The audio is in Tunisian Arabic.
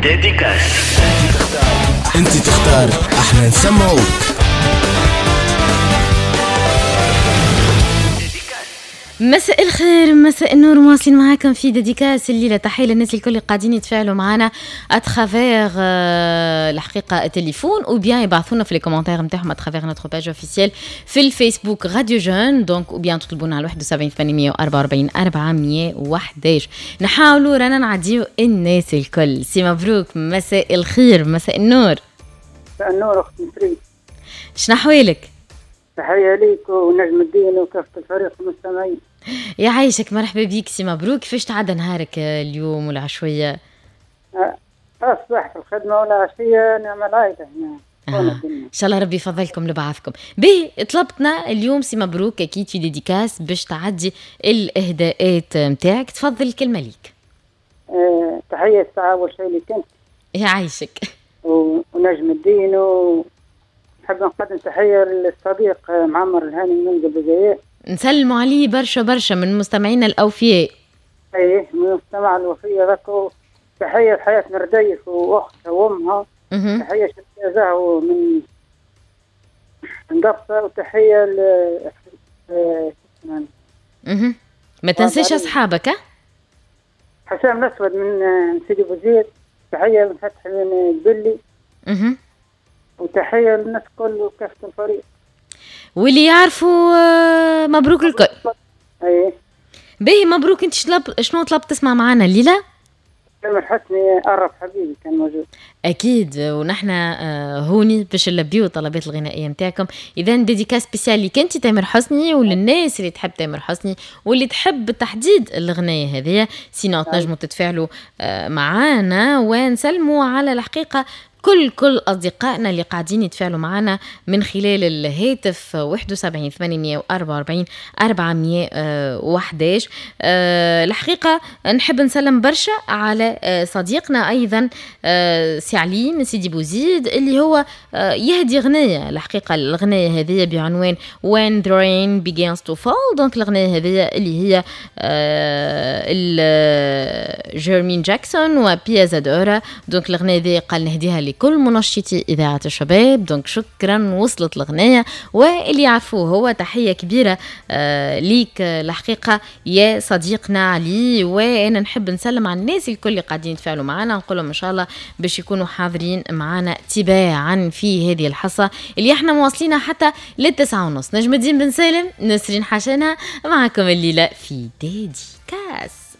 dédicace. انت تختار، احنا نسمعوك. مساء الخير، مساء النور، مواصلين معاكم في dédicace الليلة. تحية للناس الكل اللي قاعدين يتفاعلوا معنا à travers الحقيقة التليفون ou bien يبعثونا في les commentaires نتاعهم à travers notre page officielle في الفيسبوك راديو جون، donc ou bien تطلبونا على 71 844 411. نحاولوا رانا نعديو الناس الكل. سي مبروك، مساء الخير، مساء النور. مساء النور اختي نسرين، شنو احوالك؟ تحية ليك ونجم الدين وكافة الفريق المستمعين. يعيشك، مرحبا بيك سي مبروك. كيفاش تعدى نهارك اليوم والعشوية؟ الصباح في الخدمة والعشية نعمل عائلة هنا. إن شاء الله ربي يفضلكم لبعضكم. باهي، طلبتنا اليوم سي مبروك أكيد في dédicace باش تعدي الإهداءات نتاعك، تفضل الكلمة ليك. تحية الساعة أول شيء لك أنت. يعيشك. ونجم الدين، ونحب نقدم تحية للصديق معمر الهاني من منزل بجاية. نسلموا عليه برشا برشا من مستمعينا الأوفياء. ايه، من المستمع الوفية ذاك. تحية لحياة مرديف وأختها وأمها. تحية شفت زهو من قفصة، وتحية ل ما تنساش أصحابك. حسام الأسود من سيدي بوزيد، تحية من فتحي من البلي. وتحية للناس الكل وكافة الفريق واللي يعرفوا مبروك الكل. ايه باهي مبروك، انت شنو طلبت تسمع معنا الليلة؟ تامر حسني قرب حبيبي كان موجود. اكيد، ونحن هوني باش نلبيو الطلبات الغنائية نتاعكم. اذا dédicace spéciale ليك انت تامر حسني وللناس اللي تحب تامر حسني واللي تحب بالتحديد الغنايه هذه. sinon تنجموا تتفاعلوا معانا، ونسلموا على الحقيقة كل أصدقائنا اللي قاعدين يتفاعلوا معنا من خلال الهاتف 71 844 411. الحقيقة نحب نسلم برشا على صديقنا أيضا سي علي من سيدي بوزيد اللي هو يهدي غنية. الحقيقة الغنية هذه بعنوان When the Rain Begins to Fall. donc الغنية هذه اللي هي جيرمين جاكسون وبيا زادورا. donc الغنية هذه قال نهديها لكل منشطي إذاعة الشباب. donc شكرا، وصلت الغنية واللي يعرفوه هو. تحية كبيرة ليك الحقيقة يا صديقنا علي. وأنا نحب نسلم على الناس الكل اللي قاعدين يتفاعلوا معنا، نقول لهم إن شاء الله باش يكونوا حاضرين معنا تباعا في هذه الحصة اللي احنا مواصلينها حتى 9:30. نجم الدين بن سالم، نسرين حشانة معكم الليلة في dédicace.